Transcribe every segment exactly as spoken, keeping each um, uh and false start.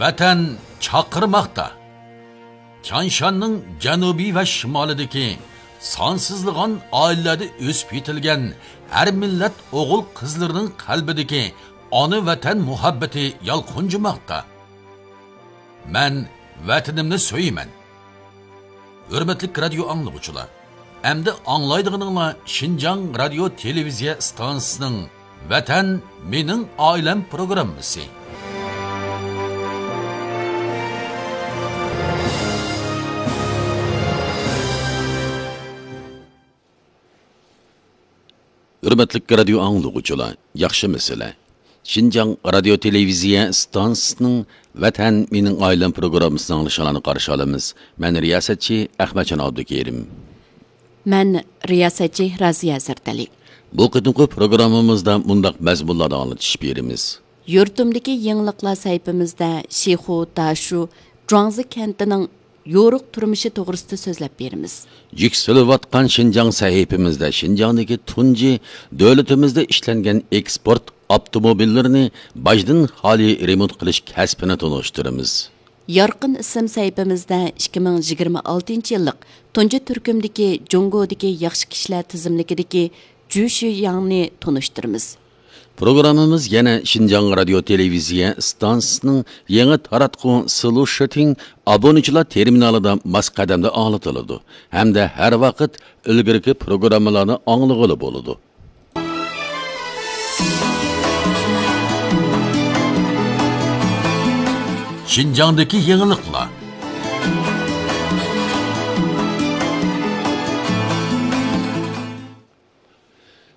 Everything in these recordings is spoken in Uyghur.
ۋەتەن چاقىرماقتا. تيانشاننىڭ جەنۇبى ۋە شىمالىدىكى سانسىزلىغان ئائىلىلەردە ئۆسۈپ يېتىلگەن ھەر مىللەت ئوغۇل-قىزلىرىنىڭ قەلبىدىكى ئانا ۋەتەن مۇھەببىتى يالقۇنجىماقتا. مەن ۋەتىنىمنى سۆيىمەن. ھۆرمەتلىك رادىيو ئاڭلىغۇچىلار، ئەمدى ئاڭلايدىغىنىڭلار شىنجاڭ رادىيو تېلېۋىزىيە ئىستانسىسىنىڭ ۋەتەن مېنىڭ ئائىلەم پروگراممىسى. ھۆرمەتلىك رادىيو ئاڭلىغۇچىلار، ياخشىمۇسىلەر؟ شىنجاڭ رادىيو تېلېۋىزىيە ئىستانسىسىنىڭ ۋەتەن مېنىڭ ئائىلەم پروگراممىسىنى ئاڭلىشىڭلارنى قارشى ئالىمىز. مەن رىياسەتچى ئەخمەتجان ئابدۇكېرىم. مەن رىياسەتچى رازىيە زەردەلى. بۇ قېتىمقى پروگراممىمىزدا مۇنداق مەزمۇنلاردا ئاڭلىتىش بېرىمىز. يۇرتۇمدىكى يېڭىلىقلار سەھىپىمىزدە شىخۇ داشۇ جۇاڭزى كەنتىنىڭ يورۇق تۇرمۇشى توغرىسىدا سۆزلەپ بېرىمىز. يۈكسىلىۋاتقان شىنجاڭ سەھىپىمىزدە شىنجاڭدىكى تۇنجى دۆلىتىمىزدە ئىشلەنگەن ئېكسپورت ئاپتوموبىللىرىنى باجدىن خالىي رېمونت قىلىش كەسپىنى تونۇشتۇرىمىز. يارقىن ئىسىم سەھىپىمىزدە ئىككى مىڭ يىگىرمە ئالتىنچى يىللىق تۇنجى تۈركۈمدىكى جۇڭگودىكى ياخشى كىشىلەر تىزىملىكىدىكى جۈ شۈياڭنى تونۇشتۇرىمىز. پروگراممىمىز يەنە شىنجاڭ رادىيو تېلېۋىزىيە ئىستانسىسىنىڭ يېڭى تاراتقۇ سلۇشىتىڭ ئابۇنىچىلار تېرمىنالىدا ماس قەدەمدە ئاڭلىتىلىدۇ ھەمدە ھەر ۋاقىت ئىلگىرىكى پروگراممىلارنى ئاڭلىغىلى بولىدۇ. شىنجاڭدىكى يېڭىلىقلار.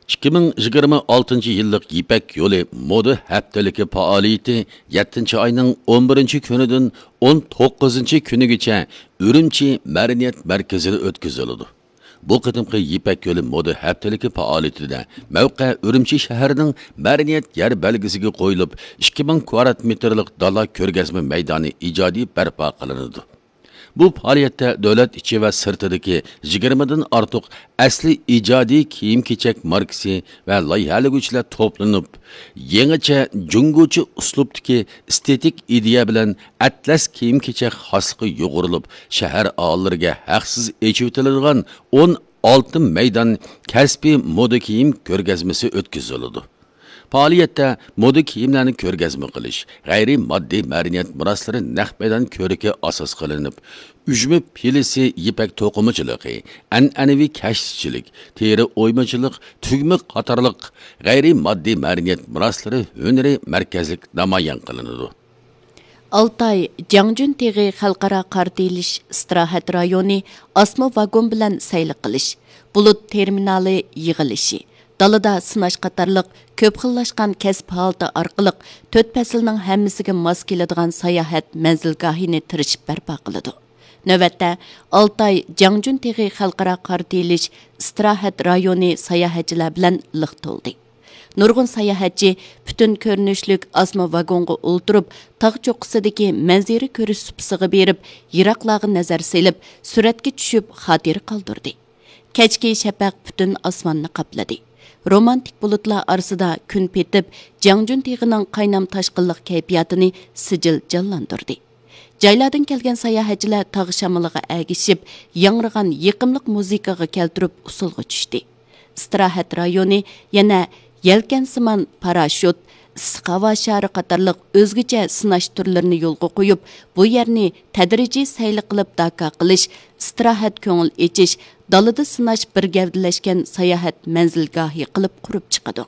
ئىككى مىڭ يىگىرمە ئالتىنچى يىللىق يىپەك يولى مودا ھەپتىلىكى پائالىيىتى يەتتىنچى ئاينىڭ ئون بىرىنچى كۈنىدىن ئون توققۇزىنچى كۈنىگىچە ئۈرۈمچى مەدەنىيەت مەركىزىدە ئۆتكۈزۈلىدۇ. بۇ قېتىمقى يىپەك يولى مودا ھەپتىلىكى پائالىيىتىدە مەۋقە ئۈرۈمچى شەھىرىنىڭ مەدەنىيەت يەر بەلگىسىگە قويۇلۇپ، ئىككى مىڭ كۋادرات مېتىرلىق دالا كۆرگەزمە مەيدانى ئىجادىي بەرپا قىلىنىدۇ. بۇ پائالىيەتتە دۆلەت ئىچى ۋە سىرتىدىكى يىگىرمىدىن ئارتۇق ئەسلىي ئىجادىي كىيىم-كېچەك ماركىسى ۋە لايىھەلىگۈچىلەر توپلىنىپ، يېڭىچە جۇڭگوچە ئۇسلۇبتىكى ئېستېتىك ئىدىيە بىلەن ئەتلەس كىيىم-كېچەك خاسلىقى يۇغۇرۇلۇپ، شەھەر ئاھالىلىرىگە ھەقسىز ئېچىۋېتىلىدىغان ئون ئالتە مەيدان كەسپىي مودا كىيىم كۆرگەزمىسى ئۆتكۈزۈلىدۇ. پائالىيەتتە مودا كىيىملەرنى كۆرگەزمە قىلىش، غەيرىي ماددىي مەدەنىيەت مىراسلىرى نەق مەيدان كۆرىكى ئاساس قىلىنىپ، ئۈجمە پىلىسى يىپەك توقۇمىچىلىقى، ئەنئەنىۋى كەشتىچىلىك، تېرە ئويمىچىلىق، تۈگمە قاتارلىق غەيرىي ماددىي مەدەنىيەت مىراسلىرى ھۈنىرى مەركەزلىك نامايان قىلىنىدۇ. ئالتاي جياڭجۈن تېغى خەلقئارا قارا تېيىلىش ئىستىراھەت رايونى ئاسما ۋاگون بىلەن سەيلە قىلىش، بۇلۇت تېرمىنالى يىغىلىشى، دالىدا سىناش قاتارلىق كۆپ خىللاشقان كەسىپ ھالىتى ئارقىلىق تۆت پەسىلنىڭ ھەممىسىگە ماس كېلىدىغان ساياھەت مەنزىلگاھىنى تىرىشىپ بەرپا قىلىدۇ. نۆۋەتتە، ئالتاي جياڭجۈن تېغى خەلقئارا قارا تېيىلىش ئىستىراھەت رايونى ساياھەتچىلەر بىلەن لىق تولدى. نۇرغۇن ساياھەتچى پۈتۈن كۆرۈنۈشلۈك ئاسما ۋاگونغا ئولتۇرۇپ، تاغ چوققىسىدىكى مەنزىرە كۆرۈش سۇپىسىغا بېرىپ، يىراقلارغا نەزەر سېلىپ، سۈرەتكە چۈشۈپ، خاتىرە قالدۇردى. كەچكى شەپەق پۈتۈن ئاسماننى قاپلىدى. رومانتىك بۇلۇتلار ئارىسىدا كۈن پېتىپ، جياڭجۈن تېغىنىڭ قاينام تاشقىنلىق كەيپىياتىنى سىجىل جانلاندۇردى. جايلاردىن كەلگەن ساياھەتچىلەر تاغ شامىلىغا ئەگىشىپ، ياڭرىغان يېقىملىق مۇزىكىغا كەلتۈرۈپ ئۇسسۇلغا چۈشتى. ئىستىراھەت رايونى يەنە يەلكەنسىمان پاراشوت، ئىسسىق ھاۋا شارى قاتارلىق ئۆزگىچە سىناش تۈرلىرىنى يولغا قويۇپ، بۇ يەرنى تەدرىجىي سەيلە قىلىپ داكا قىلىش، ئىستىراھەت، كۆڭۈل ئېچىش، دالىدا سىناش بىر گەۋدىلەشكەن ساياھەت مەنزىلگاھى قىلىپ قۇرۇپ چىقىدۇ.